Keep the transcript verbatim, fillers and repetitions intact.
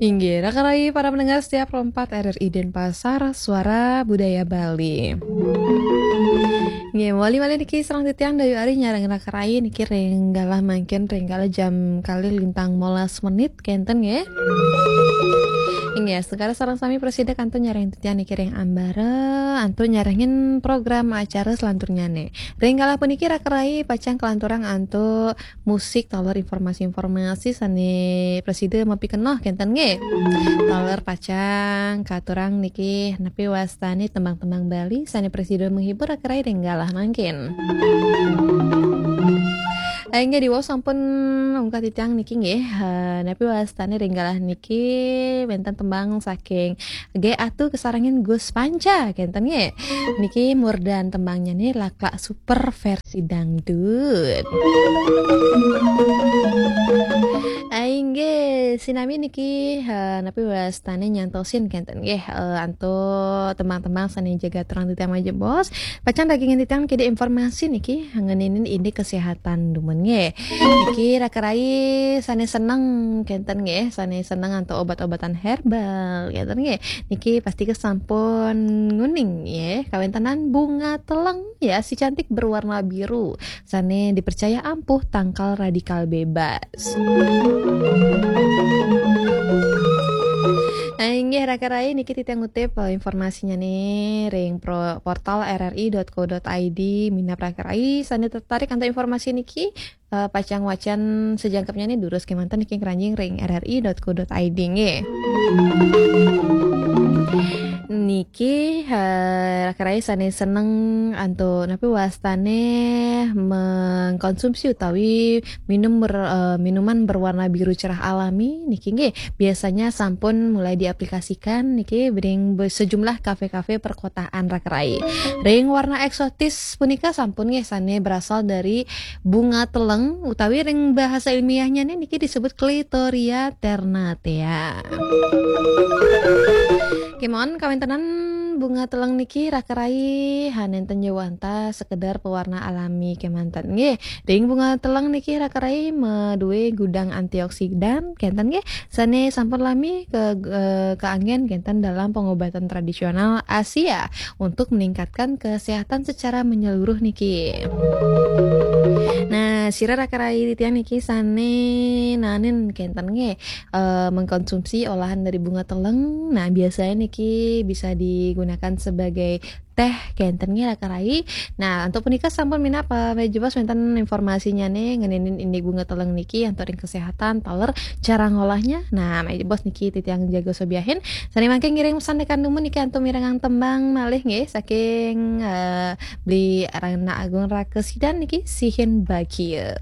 Inggih, raka rai para pendengar setia Pro empat R R I Denpasar, Suara Budaya Bali. Inggih, malih-malih niki sareng titiang Dayu Ari nyarengin raka rai niki ring galah mangkin ring kala jam kalih lintang molas menit kenten nggih. Inggih, astungkara sareng sami prasida kantun nyarengin titiang niki ring ambara, antuk nyarengin program acara selanturnyane. Ring galah puniki raka rai pacang kalanturang antuk musik taler informasi-informasi sane prasida mapikenoh kenten nggih. Taler pacang katurang niki napi wastane tembang-tembang Bali sane prasida menghibur raka rai ring galah mangkin. Eh, inggih diwaos sampun ungkah titiang niki nggih. Eh, napi wastane ring galah niki wenten tembang saking G Atu kasarengin Gus Panca kenten nggih. Niki murdan tembangnyane Laklak Super versi dangdut. Ai nggih, sinami niki, eh, napi wastane nyantosin kenten nggih, eh, antuk tembang-tembang sane jaga terang titiang majeng bos. Pacang dagingin titiang kede informasi niki ngeninin indik kesehatan dumun nggih. Niki raka rai sane seneng kenten nggih, sane seneng antuk obat-obatan herbal kenten nggih. Niki pasti kesampun nguning nggih, kawentenan bunga teleng ya, si cantik berwarna biru. Sane dipercaya ampuh tangkal radikal bebas. Nah, inggih raka rai niki titiang ngutip, eh, informasinyane ring pro-, portal R R I dot co dot I D minab raka rai sane tertarik antuk informasi niki, eh, pacang wacan sajangkepnyane durus kemanten niki ngranjing ring R R I dot co dot I D nggih. Niki, eh, raka rai sane seneng antuk napi wastane mengkonsumsi utawi minum ber-, eh, minuman berwarna biru cerah alami niki nggih biasanya sampun mulai diaplikasikan niki ring be-, sejumlah kafe-kafe perkotaan raka rai. Ring warna eksotis punika sampun nggih sane berasal dari bunga teleng utawi ring bahasa ilmiahnya nih niki disebut Clitoria ternatea. Kemon kawentenan bunga teleng niki raka rai hanenten jawanta sekedar pewarna alami kemanten nggih. Ring bunga teleng niki raka rai madue gudang antioksidan kenten nggih sane sampun lami ke, eh, keanggen kenten dalam pengobatan tradisional Asia untuk meningkatkan kesehatan secara menyeluruh niki. Nah, sira raka rai titiang niki sane nanin kenten nggih, eh, mengkonsumsi olahan dari bunga teleng. Nah, biasanya niki bisa digunakan sebagai teh kenten nggih raka rai. Nah, antuk punika sampun minab, eh, majeng bos wenten informasinyane ngeninin indik bunga teleng niki antuk ring kesehatan taler cara ngolahnya. Nah, majeng bos niki titiang jaga sobiahin. Sane mangke ngiring sandekan dumun niki antuk mirengang tembang malih nggih saking, eh, Beli Rana Agung Rakesidan niki Sihin Bagia.